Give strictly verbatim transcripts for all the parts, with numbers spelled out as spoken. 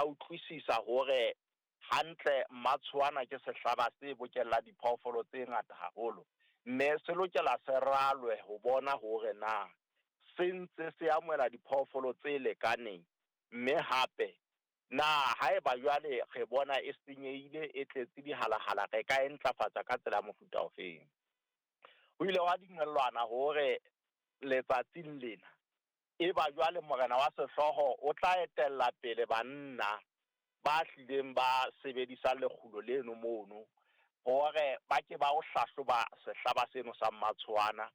Utlwisisa hore hantle Mmatshoana ke sehlaba se bokella diphoofolo tse ngata haholo, mme se lokela se ralwe ho bona hore na se ntse se amohela diphoofolo tse lekaneng. Mme hape na haeba jwale re bona e senyehile, e tletse dihalahala, re ka e ntlafatsa ka tsela ya mofuta ofeng. Ho ile hwa dumellwana hore letsatsing lena e ba jwale morena wa sehlooho o tla etella pele banna ba hlileng ba sebedisang lekgulo leno mono hore ba ke ba o hlahloba sehlaba seno sa Mmatshoana.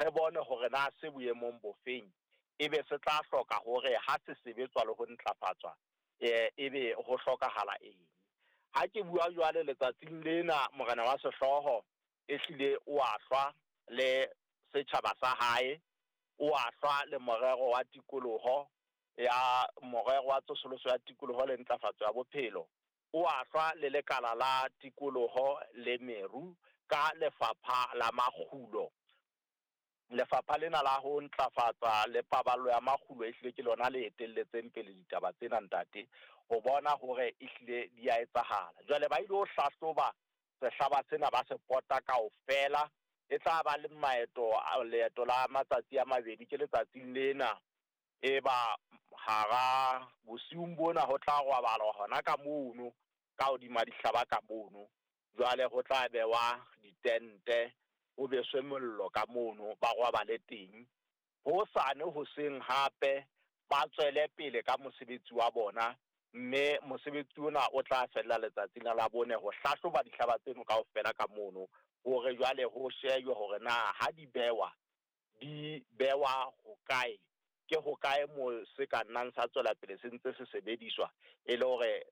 Re bone hore na se boemong bo feng, ebe se tla hloka hore ha se sebetswa le ho ntlafatswa ebe ho hlokahala eng. Ha ke bua jwale letsatsing lena, morena wa sehlooho e hlile wa hlwa le setjhaba sa hae, wa hlwa le morero wa tikoloho ya morero wa tsosoloso ya tikoloho le ntlafatso ya bophelo. O a hlwa le lekala la tikoloho le meru ka lefapha la makgulo. Lefapha lena la ho ntlafatsa le paballo ya makgulo e hlile ke lona le etelletseng pele ditaba tsena ntate, ho bona hore ehlile di a etsahala. Jwale ba ilo hlahloba sehlaba sena ba se pota kaofela, e tla ba le maeto a leeto la matsatsi a mabedi ke letsatsing lena. E ba hara bosiung bona ho tla robalwa hona ka mono ka hodima dihlaba ka mono. Jwale ho tla bewa ditente, ho beswe mollo ka mono, ba robale teng. Hosane hoseng hape ba tswele pele ka mosebetsi wa bona, mme mosebetsi ona o tla fella letsatsing la Labone ho hlahloba dihlaba tseno kaofela ka mono hore jwale ho shejwe hore na ha di bewa di bewa hokae, ke hokae mo se ka nnang sa tswela pele se ntse se sebediswa e le hore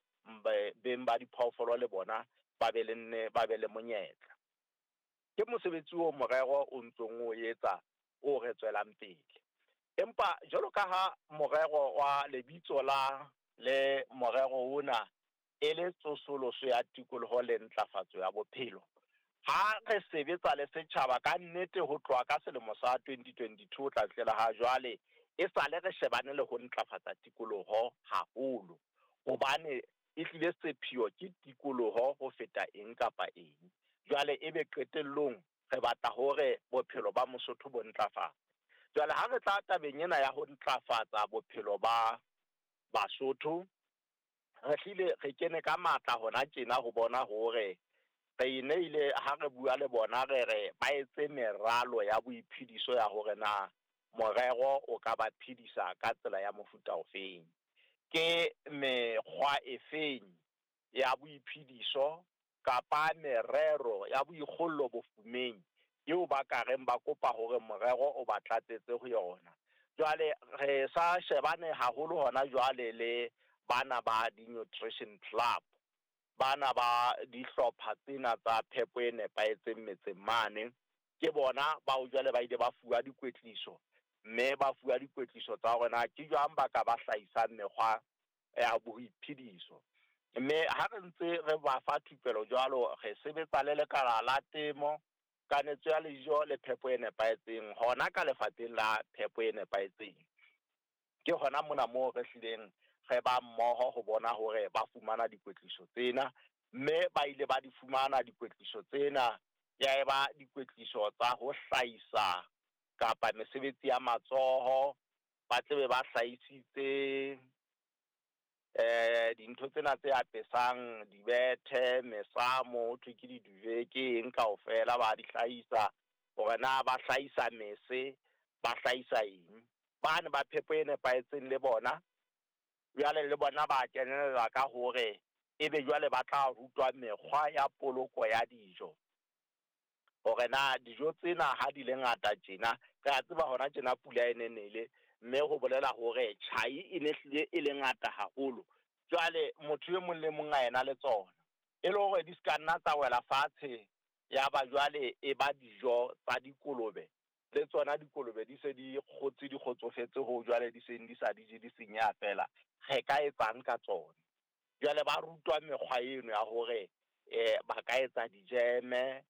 beng ba diphoofolo le bona ba be le nne ba be le monyetla. Ke mosebetsi o morero o ntsong o etsa o re tswelang pele. Empa jwalo ka ha morero wa lebitso la le morero ona e le tsosoloso ya tikoloho le ntlafatso ya bophelo, ha re sebetsa le setjhaba ka nnete ho tloha ka selemo sa twenty twenty-two ho tla fihlela ha jwale, e sale re shebane le ho ntlafatsa tikoloho haholo, hobane e hlile sepheo ke tikoloho ho feta eng kapa eng. Jwale ebe qetellong re batla hore bophelo ba Mosotho bo ntlafale. Jwale ha re tla tabeng ena ya ho ntlafatsa bophelo ba Basotho, re hlile re kene ka matla hona tjena ho bona hore re neile ha re bua le bona re re ba etse meralo ya boiphediso ya hore na morero o ka ba phedisa ka tsela ya mofuta ofeng. Ke mekgwa efeng ya boiphediso kapa merero ya boikgollo bofumeng eo ba ka reng ba kopa hore morero o ba tlatsetse ho yona. Jwale re sa shebane haholo hona jwale le bana ba di-nutrition club, bana ba dihlopha tsena tsa phepo e nepahetseng metseng mane. Ke bona bao jwale ba ile ba fuwa dikwetliso, mme ba fuwa dikwetliso tsa hore na ke jwang ba ka ba hlahisang mekgwa ya boiphediso. Mme ha re ntse re ba fa thupelo jwalo, re sebetsa le lekala la temo, kanetso ya dijo le phepo e nepahetseng hona ka lefapheng la phepo e nepahetseng. Ke hona mona moo re hlileng re ba mmoho ho bona hore ba fumana dikwetliso tsena, mme ba ile ba di fumana dikwetliso tsena, ya eba dikwetliso tsa ho hlahisa kapa mesebetsi ya matsoho, ba tlebe ba hlahisitse eh dintho tsena tse apesang, dibethe, mesamo, ho thwe ke di-duvet, ke eng kaofela ba di hlahisa, hore na ba hlahisa mese, ba hlahisa eng. Bane ba phepo e nepahetseng le bona jwale le bona ba kenella ka hore ebe jwale ba tla rutwa mekgwa ya poloko ya dijo, hore na dijo tsena ha di le ngata tjena, re a tseba hona tjena pula e ne nele, mme ho bolela hore tjhai e ne hlile e le ngata haholo. Jwale motho e mong le mong a ena le tsona, e le hore di ska nna tsa wela fatshe, ya ba jwale e ba dijo tsa dikolobe, le tsona dikolobe di se di kgotse di kgotsofetse ho jwale di seng di sa di je di senyeha fela, re ka etsang ka tsona. Jwale ba rutwa mekgwa eno ya hore eh ba ka etsa dijeme,